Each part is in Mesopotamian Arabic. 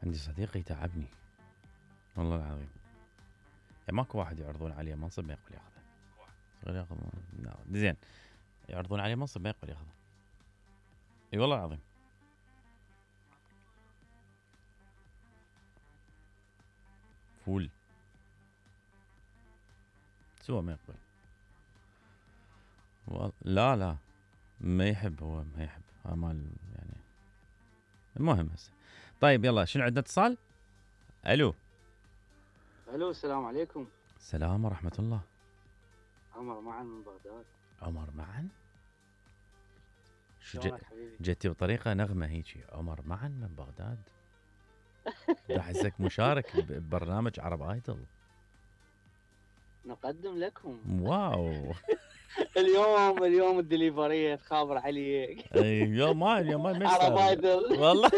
عندي صديق يتعبني والله العظيم، يعني ماكو واحد يعرضون عليه منصب ما يقبل ياخذه. ياخذ زين، يعرضون عليه منصب ما يقبل ياخذه. اي والله العظيم. فول سوى ما يقبل. لا ما يحب، هو ما يحب مال يعني. المهم هسه طيب يلا شنو عندنا اتصال؟ الو السلام عليكم. السلام ورحمة الله. عمر معن من بغداد. عمر معن؟ شو شلونك حبيبي؟ جيتي بطريقة نغمة هيجي، عمر معن من بغداد. احسك مشارك ببرنامج عرب ايدل. نقدم لكم. واو. اليوم الدليفرية تخابر عليك. اليوم ما عرب ايدل والله.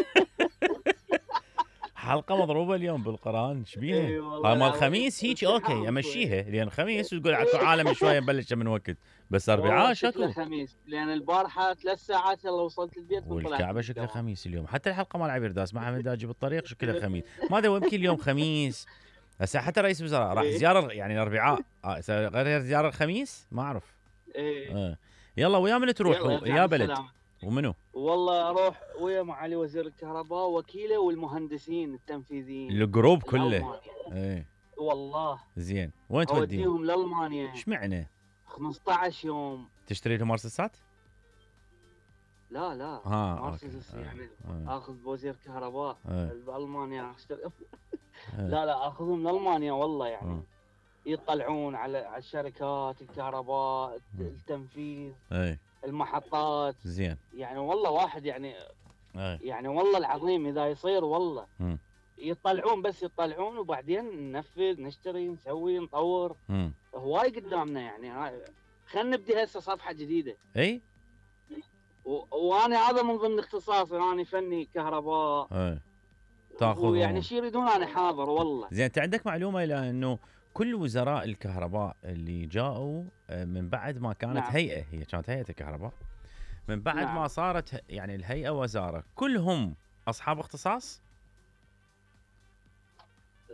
حلقة مضروبة اليوم بالقرآن، ايش بيها؟ مال الخميس هيك اوكي امشيها، لان الخميس تقول اكو عالم شوية نبلش من وقت، بس اربعاء شكو؟ الخميس لان البارحة 3 ساعات يلا وصلت البيت والكعبة شكلها خميس اليوم، حتى الحلقة مال عبير داس مع حمد داجي بالطريق شكلها خميس، ما ادري يمكن اليوم خميس. هسه حتى رئيس الوزراء راح زيارة يعني الاربعاء، غير زيارة الخميس ما اعرف. يلا ويا من تروح يا بلد؟ ومنو؟ والله اروح ويا معالي وزير الكهرباء وكيله والمهندسين التنفيذيين الجروب كله. ايه والله. زين وين توديهم؟ اوديهم لالمانيا. ايش معنى؟ 15 يوم. تشتري لهم مرسيدسات؟ لا مرسيدس يعني اخذ بوزير كهرباء بالمانيا اشتري. لا اخذهم لالمانيا والله يعني. يطلعون على الشركات الكهرباء التنفيذ المحطات. زين يعني والله واحد يعني يعني والله العظيم اذا يصير والله يطلعون وبعدين ننفذ نشتري نسوي نطور. هواي قدامنا يعني. خلينا نبدي هسه صفحه جديده. اي وانا هذا من ضمن اختصاصي، انا فني كهرباء. تاخذ يعني شي يريدون انا حاضر والله. زين انت عندك معلومه الى انه كل وزراء الكهرباء اللي جاءوا من بعد ما كانت هيئه، هي كانت هيئه الكهرباء، من بعد ما صارت يعني الهيئه وزاره، كلهم اصحاب اختصاص؟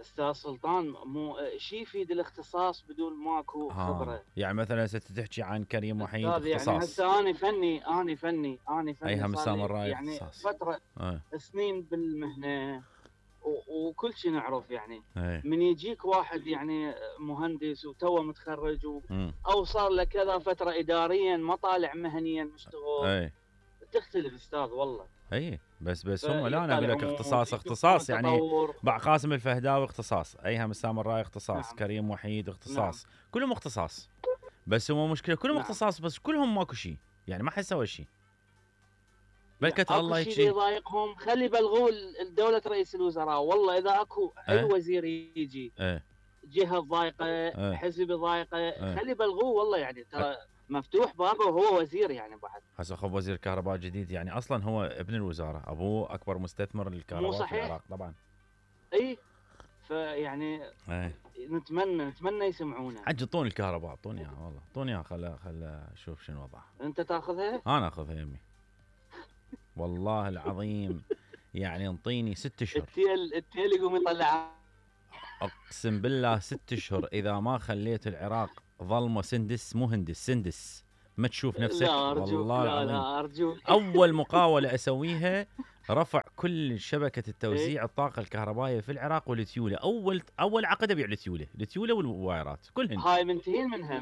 استاذ سلطان مو شيء يفيد الاختصاص بدون ماكو خبره. يعني مثلا ستحكي عن كريم وحيد اختصاص. يعني هسه انا فني ايها مسام الراي يعني اختصاص. فتره سنين بالمهنه وكل شيء نعرف يعني. أي. من يجيك واحد يعني مهندس وتوه متخرج او صار له كذا فتره اداريا ما طالع مهنيا مشتغل. تختلف استاذ والله. اي بس هم لا انا اقول لك اختصاص يعني باع قاسم الفهداوي اختصاص، ايها مسام الراي اختصاص، كريم وحيد اختصاص، كلهم اختصاص. بس هو مشكله كلهم اختصاص بس كلهم ماكو شيء، يعني ما حد سوى شيء. بلكت الله يجي شيء يضايقهم خلي يبلغوا الدولة رئيس الوزراء. والله اذا اكو اي وزير يجي جهه ضايقه حزب ضايقه خلي يبلغوه والله يعني. ترى مفتوح بابه وهو وزير يعني بعد. هسه خب وزير كهرباء جديد يعني اصلا هو ابن الوزاره، ابوه اكبر مستثمر للكهرباء في العراق طبعا. اي فيعني نتمنى يسمعونا. عجطون الكهرباء، اعطوني اياها والله، اعطوني اياها خل اشوف شنو وضعها. انت تاخذها؟ انا اخذها يمي والله العظيم. يعني انطيني 6 اشهر التيل يقوم يطلع. اقسم بالله 6 اشهر اذا ما خليت العراق ظلمه سندس، مو هندس سندس، ما تشوف نفسك. لا أرجوك والله العظيم. لا أرجوك. اول مقاوله اسويها رفع كل شبكه التوزيع الطاقه الكهربائيه في العراق والتيوله. اول عقد ابيع التيوله والوايرات كلهن. هاي منتهين منها